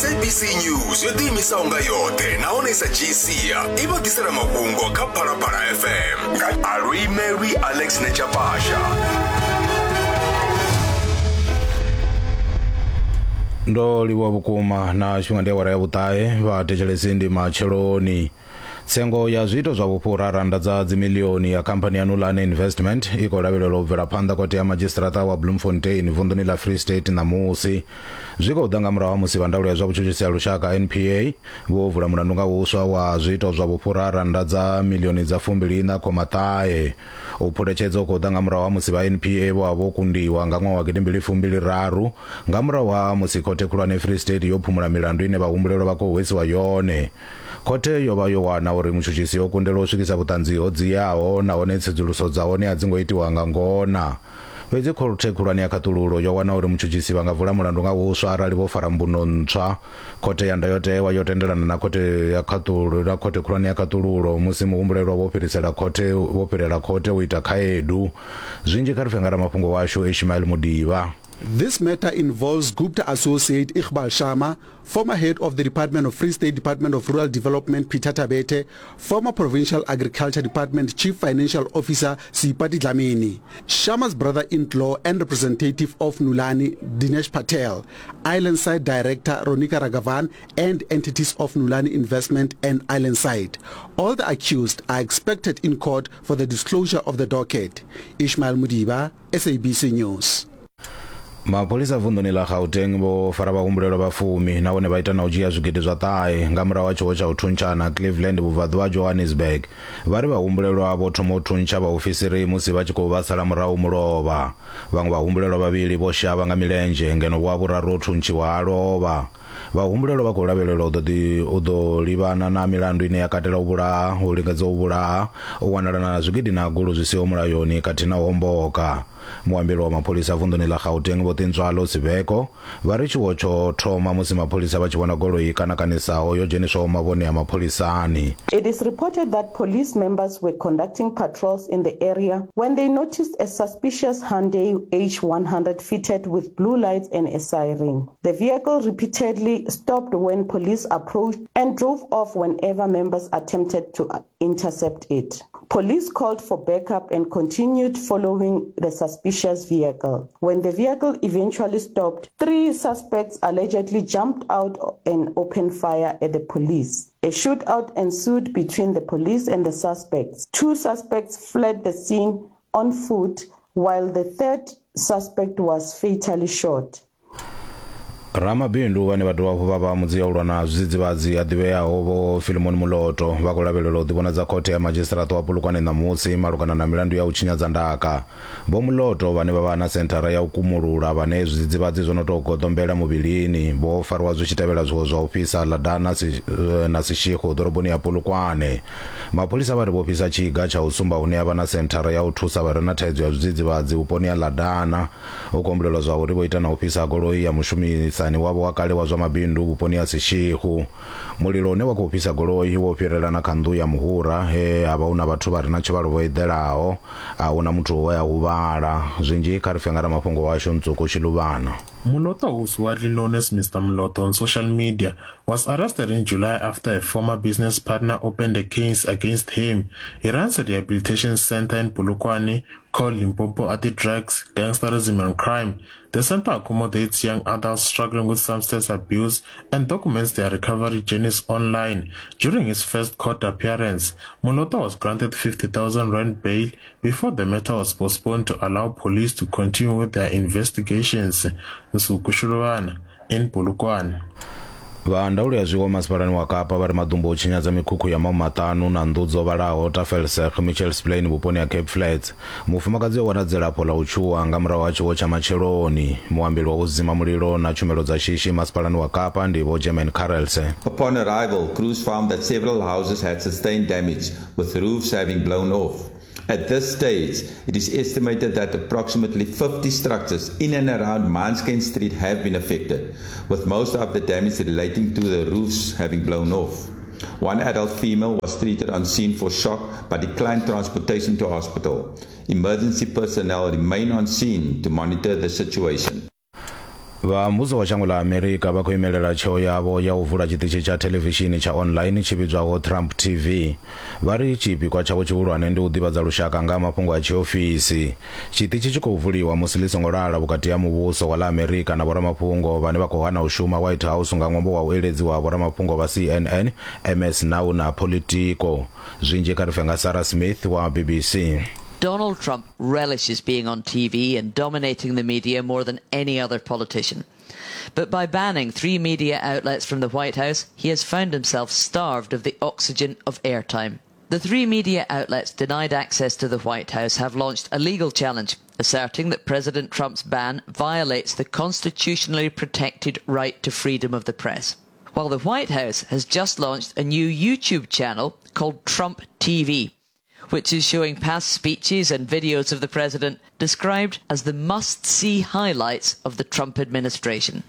SABC News yo ḓiimisaho nga yoṱhe nahone sa dzhii sia i vha ḓisela mafhungo kha Phalaphala FM nga Aluimelwi Alex Nechapasha. Ndo livhuwa vhukuma na tshifhinga ndi awara ya vhuṱahe vha thetshelesi ndi matsheloni. Tsengo ya zwiito zwa vhufhura rannda dza dzimiḽioni ya khamphani ya Nulane Investment i khou lavhelelwa u bvela phanḓa khothe ya madzhisiṱiraṱa wa Bloemfontein vunḓuni ḽa Free State ṋamusi. Zwi khou ḓa nga murahu ha musi vha ndaulo ya zwa vhutshutshisi ha lushaka NPA vho vula mulandu nga huswa wa zwiito zwa vhufhura rannda dza miḽioni dza fumbili iṋa khoma ṱahe. U phuletshedza hu khou ḓa nga murahu ha musi vha NPA vho vha vho kundiwa nga ṅwaha wa gidimbili fumbili raru nga murahu ha musi khothe khulwane Free State yo phumula milandu ine vhahumbulelwa vha khou hwesiwa yone. Khothe yo vha yo wana uri mutshutshisi o kundelwa u swikisa vhuṱanzi ho dziaho nahone tsedzuluso dza hone a dzi ngo itiwa nga ngona. Fhedzi khothe khulwane ya khaṱululo yo wana uri mutshutshisi vha nga vula mulandu nga huswa arali vho fara mbuno ntswa. Khothe ya ndayotewa yo tendelana na khothe ya khaṱulo na khothe khulwane ya khaṱululo musi muhumbulelwa vho fhirisela khothe vho fhirela khothe u ita khaedu. Zwinzhi kha ri pfe nga ramafhungo washu Ishmael Mudiba. This matter involves Gupta associate Iqbal Sharma, former head of the Department of Free State Department of Rural Development Peter Thabethe, former Provincial Agriculture Department Chief Financial Officer Seipati Dlamini, Sharma's brother-in-law and representative of Nulane Dinesh Patel, Islandside Director Ronika Raghavan and entities of Nulane Investment and Islandside. All the accused are expected in court for the disclosure of the docket. Ishmael Mudiba, SABC News. Mapholisa vunḓuni ḽa Gauteng vho fara vhahumbulelwa vha fumi nahone vha ita na u dzhia zwigidi zwa ṱahe nga murahu ha tshiwo tsha u thuntshana Cleveland vhubvaḓuvha ha Johannesburg. Vha ri vhahumbulelwa vho thoma u thuntsha vhaofisiri musi vha tshi khou vha sala murahu mulovha. Vhaṅwe vhahumbulelwa vhavhili vho shavha nga milenzhe ngeno wa vhuraru o thuntshiwa a lovha. Vhahumbulelwa vha khou lavhelelwa u ḓo ḓi u ḓo livhana na milandu ine ya katela u vhulaha, u lingedza u vhulaha, u wanala na zwigidi na gulu zwi siho mulayoni khathihi na u homboka. Muambeli wa mapholisa vunḓuni ḽa Gauteng Vho Tintswalo Sibeko vha ri tshiwo tsho thoma musi mapholisa vha tshi vhona goloi i kanakanisaho yo dzheniswaho mavhone a mapholisani. It is reported that police members were conducting patrols in the area when they noticed a suspicious Hyundai H100 fitted with blue lights and a siren. The vehicle repeatedly stopped when police approached and drove off whenever members attempted to intercept it. Police called for backup and continued following the suspicious vehicle. When the vehicle eventually stopped, three suspects allegedly jumped out and opened fire at the police. A shootout ensued between the police and the suspects. Two suspects fled the scene on foot while the third suspect was fatally shot. Ramabindu vhane vha dovha hafhu vha vha mudzia u lwa na zwidzidzivhadzi a ḓivheaho Vho Philemon Muloto vha khou lavhelelwa u ḓivhonadza khothe ya madzhisiṱiraṱa wa Polokwane ṋamusi malugana na milandu ya u tshinyadza ndaka. Vho Muloto vhane vha vha na senthara ya u kumulula vhane zwidzidzivhadzi zwo no tou goḓombela muvhilini vho fariwa zwi tshi tevhela zwiwo zwa u fhisa Ladana na Seshego ḓoroboni ya Polokwane. Mapholisa vha ri vho fhisa tshiga tsha u sumba hune ha vha na senthara ya u thusa vha re na thaidzo ya zwidzidzivhadzi vhuponi ha Ladana. Hu khou humbulelwa zwa uri vho ita na u fhisa goloi ya mushumisani wavho wa kale wa zwa mabindu vhuponi ha Seshego. Mulilo une wa khou fhisa goloi wo fhirela na kha nnḓu ya muhura he ha vha hu na vhathu vha re na tshivhalo vho eḓelaho. A hu na muthu we a huvhala. Zwinzhi kha ri pfe nga ramafhungo washu Ntswuku Tshiluvhana. Moloto, who's widely known as Mr. Moloto on social media, was arrested in July after a former business partner opened a case against him. He runs a rehabilitation center in Polokwane called Limpopo Anti-Drugs, Gangsterism and Crime. The center accommodates young adults struggling with substance abuse and documents their recovery journeys online. During his first court appearance, Moloto was granted 50,000 rand bail before the matter was postponed to allow police to continue with their investigations. Nsuku Shulwana in Polokwane. Vha ndaulo ya zwiwo masipalani wa Kapa vha ri maḓumbu o tshinyadza mikhukhu ya mahumaṱanu na nnḓu dzo vhalaho Tafelsig, Mitchells Plain vhuponi ha Cape Flats. Mufumakadzi o wana dzilafho ḽa u tshuwa nga murahu ha tshiwo tsha matsheloni. Muambeli wa u dzima mulilo na tshumelo dza shishi masipalani wa Kapa ndi Vho German Carelse. Upon arrival, crews found that several houses had sustained damage, with roofs having blown off. At this stage, it is estimated that approximately 50 structures in and around Mansken Street have been affected, with most of the damage relating to the roofs having blown off. One adult female was treated on scene for shock but declined transportation to hospital. Emergency personnel remain on scene to monitor the situation. Vha muvhuso wa shango ḽa Amerika vha khou imelela tsheo yavho ya u vula tshiṱitshi tsha thelevishini tsha online tshi vhidzwaho Trump TV. Vha ri tshipikwa tshavho tshihulwane ndi u ḓivhadza lushaka nga ha mafhungo a tshiofisi. Tshiṱitshi tshi khou vuliwa musi ḽi songo lala vhukati ha muvhuso wa ḽa Amerika na vhoramafhungo vhane vha khou hana u shuma White House nga ṅwambo wa u eledziwa ha vhoramafhungo vha CNN, MS Now na Politico. Zwinzhi kha ri pfe nga Sarah Smith wa BBC. Donald Trump relishes being on TV and dominating the media more than any other politician. But by banning three media outlets from the White House, he has found himself starved of the oxygen of airtime. The three media outlets denied access to the White House have launched a legal challenge, asserting that President Trump's ban violates the constitutionally protected right to freedom of the press. While the White House has just launched a new YouTube channel called Trump TV, which is showing past speeches and videos of the president described as the must see highlights of the Trump administration.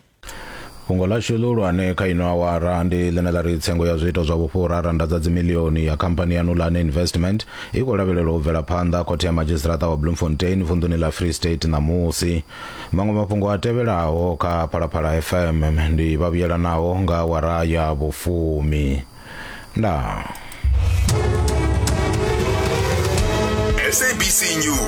Fhungo ḽashu ḽihulwane kha ino awara ndi ḽine ḽa ri tsengo ya zwiito zwa vhufhura randa dza dzimilioni ya khamphani ya Nulane Investment i khou lavhelelwa u bvela phanḓa khothe ya madzhisiṱiraṱa wa Bloemfontein vunḓuni ḽa Free State ṋamusi. Maṅwe mafhungo a tevhelaho kha Phalaphala FM ndi vha vhuyelanaho nga awara ya vhufumi. Ndaa. SABC News.